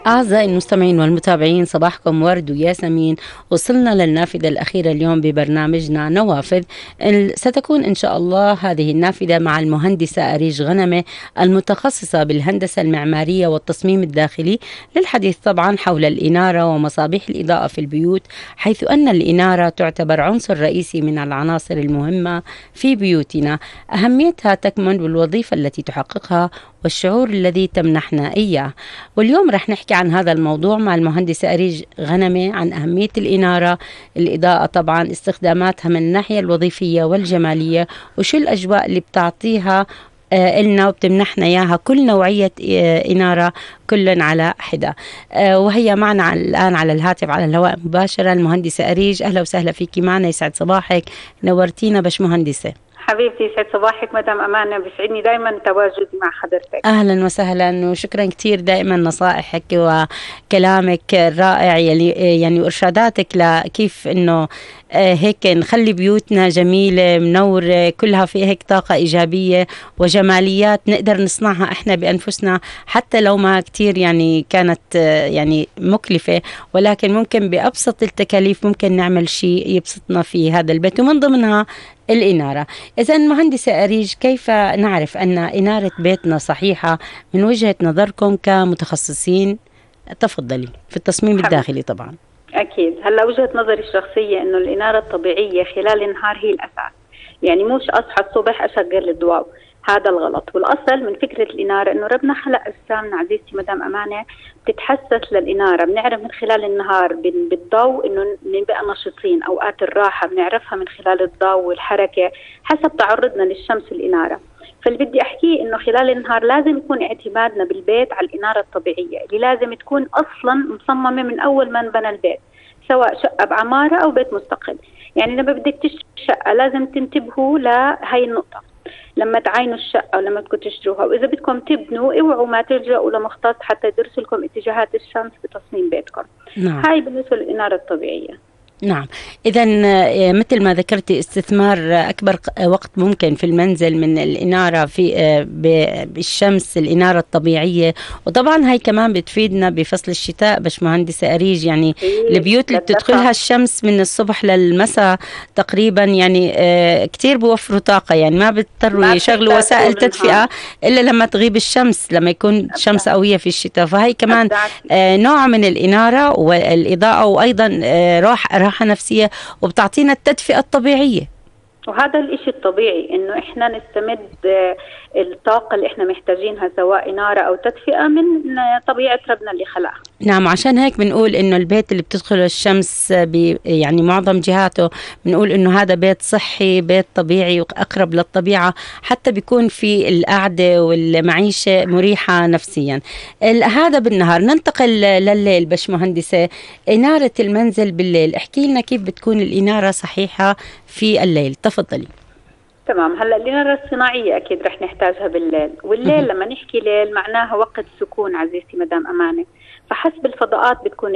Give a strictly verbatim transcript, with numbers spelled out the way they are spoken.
أعزائي المستمعين والمتابعين، صباحكم ورد وياسمين. وصلنا للنافذة الأخيرة اليوم ببرنامجنا نوافذ. ستكون إن شاء الله هذه النافذة مع المهندسة أريج غنمة المتخصصة بالهندسة المعمارية والتصميم الداخلي، للحديث طبعا حول الإنارة ومصابيح الإضاءة في البيوت، حيث أن الإنارة تعتبر عنصر رئيسي من العناصر المهمة في بيوتنا. أهميتها تكمن بالوظيفة التي تحققها والشعور الذي تمنحنا إياه. واليوم رح نحكي عن هذا الموضوع مع المهندسة أريج غنمة عن أهمية الإنارة، الإضاءة طبعا، استخداماتها من الناحية الوظيفية والجمالية، وشو الأجواء اللي بتعطيها آه إلنا وبتمنحنا إياها كل نوعية آه إنارة كل على حدة. آه وهي معنا الآن على الهاتف على الهواء مباشرة المهندسة أريج. أهلا وسهلا فيكي معنا، يسعد صباحك، نورتينا باش مهندسة. حبيبتي يسعد صباحك مدام أمانة، بيسعدني دائما تواجدي مع حضرتك. أهلا وسهلا وشكرا كتير دائما نصائحك وكلامك الرائع يلي يعني وإرشاداتك لكيف إنه هيك نخلي بيوتنا جميلة منورة كلها في هيك طاقة إيجابية وجماليات نقدر نصنعها إحنا بأنفسنا، حتى لو ما كتير يعني كانت يعني مكلفة، ولكن ممكن بأبسط التكاليف ممكن نعمل شيء يبسطنا في هذا البيت، ومن ضمنها الإنارة. إذا مهندسة أريج، كيف نعرف أن إنارة بيتنا صحيحة من وجهة نظركم كمتخصصين؟ تفضلي. في التصميم حبيب. الداخلي طبعا. أكيد. هلا وجهة نظري الشخصية إنه الإنارة الطبيعية خلال النهار هي الأساس، يعني مش أصحى الصبح أشغل الضوء، هذا الغلط. والأصل من فكرة الإنارة إنه ربنا خلق أجسامنا عزيزتي مدام أمانة بتتحسس للإنارة، بنعرف من خلال النهار بالضوء إنه نبقى نشيطين، أوقات الراحة بنعرفها من خلال الضوء والحركة حسب تعرضنا للشمس والإنارة. فاللي بدي أحكيه إنه خلال النهار لازم يكون اعتمادنا بالبيت على الإنارة الطبيعية اللي لازم تكون أصلا مصممة من أول ما انبنى البيت، سواء شقة بعمارة أو بيت مستقل. يعني لما بدك تشتري شقة لازم تنتبهوا لهي النقطة لما تعاينوا الشقة ولما بدكم تشتروها، وإذا بدكم تبنوا اوعوا ما تلجأوا لمختص حتى يدرسوا لكم اتجاهات الشمس بتصميم بيتكم. نعم. هاي بالنسبة للإنارة الطبيعية. نعم. إذا مثل ما ذكرتي استثمار أكبر وقت ممكن في المنزل من الإنارة في بالشمس، الإنارة الطبيعية، وطبعا هاي كمان بتفيدنا بفصل الشتاء باش مهندسة أريج. يعني البيوت اللي بتدخلها الشمس من الصبح للمساء تقريبا يعني كتير بوفروا طاقة، يعني ما بيضطروا يشغلوا وسائل تدفئة إلا لما تغيب الشمس، لما يكون شمس قوية في الشتاء. فهي كمان نوع من الإنارة والإضاءة، وأيضا راحة راحة نفسية، وبتعطينا التدفئة الطبيعية. وهذا الاشي الطبيعي انه احنا نستمد الطاقة اللي احنا محتاجينها سواء إنارة او تدفئة من طبيعة ربنا اللي خلقها. نعم. عشان هيك بنقول انه البيت اللي بتدخله الشمس يعني معظم جهاته بنقول انه هذا بيت صحي، بيت طبيعي واقرب للطبيعة، حتى بيكون في القعدة والمعيشة مريحة نفسيا. هذا بالنهار. ننتقل لليل باش مهندسة، إنارة المنزل بالليل، احكي لنا كيف بتكون الإنارة صحيحة في الليل. تفضلي. تمام. هلا الإنارة الصناعية أكيد رح نحتاجها بالليل، والليل لما نحكي ليل معناها وقت سكون عزيزتي مدام أمانة، فحسب الفضاءات بتكون